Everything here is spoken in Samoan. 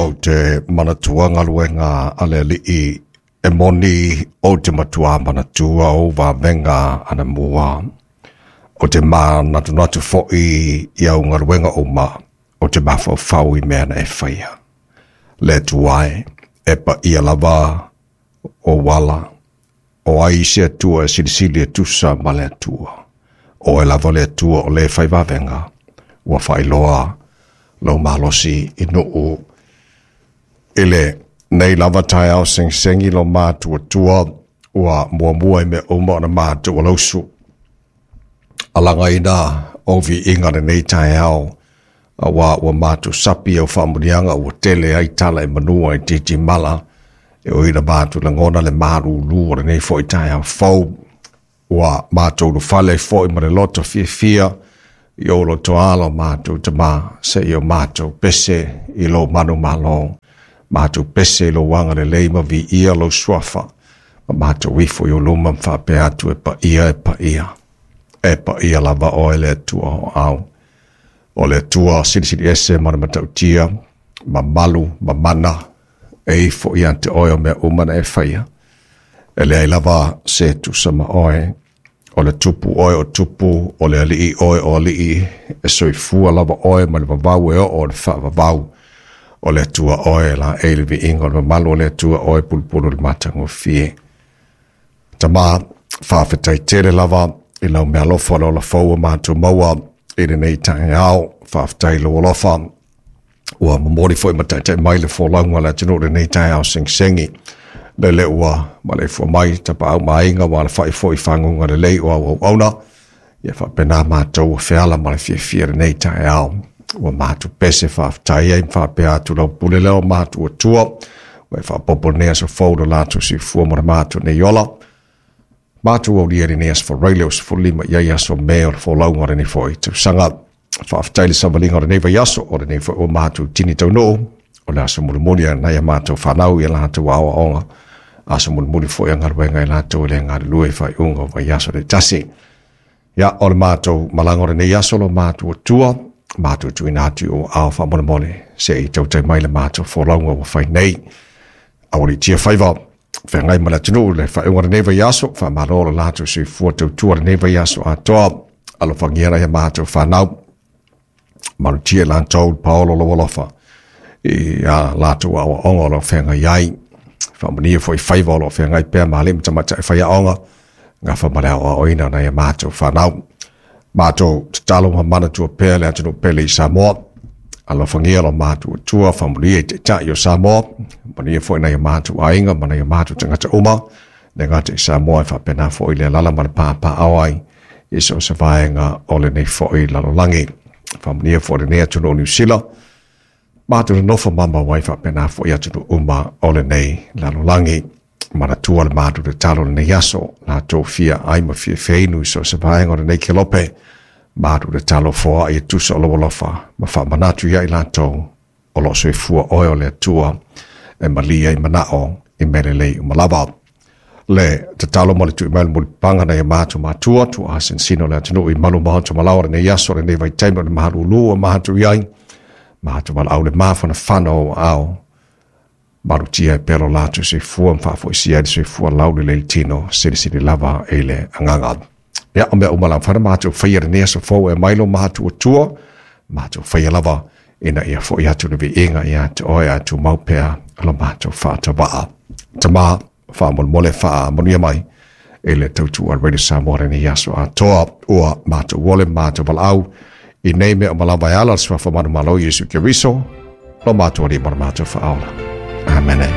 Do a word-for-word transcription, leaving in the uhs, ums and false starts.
O te manatua galuega a le Alii e moni o te matua manatua o vavenga anamua. O te manatunatu fo'i i au galuega uma o te mafaufau i mea na e faia. Le Atua e, e paia lava o ala, o ai se Atua e silisili e tusa ma le Atua. O e lava le Atua o le fai vavenga, ua faailoa lou malosi i nuu i lenei lava taeao segisegi lo matuatua ua muamua i mea uma ona matou alausu. Alagaina o viiga lenei taeao, aua ua matou sapi au faamuniaga ua tele ai tala e manua i titimala e oi na matou lagona le malūlū o lenei fo'i taeao fou. Ua matou ulufale ai fo'i ma le loto fiafia i ou lotoalo matou tamā seia o matou pese i lou manumalo, matou pese i lou agalelei ma viia lou suafa, ma matou ifo i ou luma ma faapea atu e paia e paia. E paia lava oe le Atua o au. O le Atua silisili ese ma le matautia, ma malu, ma mana, e ifo ia te oe o mea uma na e faia. E leai lava se tusa ma oe, o le tupu oe o tupu, o le alii oe o alii, e soifua lava oe ma le vavau e oo o le faavavau. O le Atua oe la e le viiga o le mamalu o le Atua oe pulupulu le matagofie. Tamā, faafetai tele lava i lau meaalofa o le ola fou ua matou maua i lenei taeao. Faafetai i lou alofa ua momoli foi ma taitai mai le folauga a le atunuu i lenei taeao segisegi. Lele ua maleifua mai tapaau ma aiga ua alafai foi i faguga lelei o au auauna. Ia faapena matou ua feala ma le fiafia i lenei taeao. Ua matou pese faafetai ai ma faapea atu lau pule lea o matou Atua. Ua e faaopoopo lenei aso fou i lo latou soifua ma le matou nei ola. Matou aulia i lenei aso Faraile o sefululima i ai aso Me o le folauga o lenei foi tausaga. Faafetai i le savaliga o lenei vaiaso o lenei foi ua matou tini taunuu. O le aso mulimuli a nai a matou fanau i a latou aoaoga. Aso mulimuli foi a galuega i latou e le galulue i faaiuga o vaiaso taitasi. Ia, o le matou malaga o lenei aso lo matou Atua, matou tuuina atu i ou aao faamolemole se i tautai mai le matou folauga ua fai nei. Aualiitia faiva feagai ma le atunuu le faaiuga o lenei vaiaso, faamalo lo latou soifua tautua lenei vaiaso atoa. Alofagia nai a matou fanau, malutia i latou le paolo o lou alofa i a latou aoaoga o lo o feagai ai. Faamanuia foi faiva o lo o feagai pea ma alii ma tamaitai faiaoga, gafa ma le aoaoina o nai a matou fanau. Matou tatalo ma manatua pea le atunuu pele i Samoa. Alofagia lo matou Atua, faamanuia i taitai o Samoa, manuia foi nai a matou aiga ma nai a matou tagata uma, le gata i Samoa e faapena foi le alaala ma le papaaao ai i so o se vaega o lenei foi lalolagi. Faamanuia foi lenei atunuu o Niu Sila, matou nonofo mamao ai faapena foi atunuu uma o lenei lalolagi. Manatua le matou tatalo lenei aso, latou fia ai ma fia feinu i so o se vaega o lenei kelope, matou tatalo foai e tusa o lou alofa ma faamanatu ia i latou o lo o soifua oe o le Atua e malie ai manao i mea lelei uma lava. Le tatalo ma le tui mai le mulipapaga nai a matou matua, tuaa sinosino o le atunuu i malu maota malaoa lenei aso, lenei vaitaimi o le malūlū ua matou i ai, matou valaau le mafanafana o aao, malutia e pea lo latou soifua ma faafoisia ai le soifua laulelei le tino, silisili lava i le agaga. Ia, o mea uma lava matou faia lenei aso fou e mai lo matou Atua, matou faia lava ina ia fo'i atu le viiga ia te oe ae tumau pea lo matou faatavaa. Tamā, faamolemole faamanuia mai i le tautua a le Radio Samoa lenei aso atoa. Ua matou ole ma matou valaau i nei mea uma lava e ala i le suafa manumalo o Iesu Keriso, lo matou Alii ma lo matou Faaola. Amene.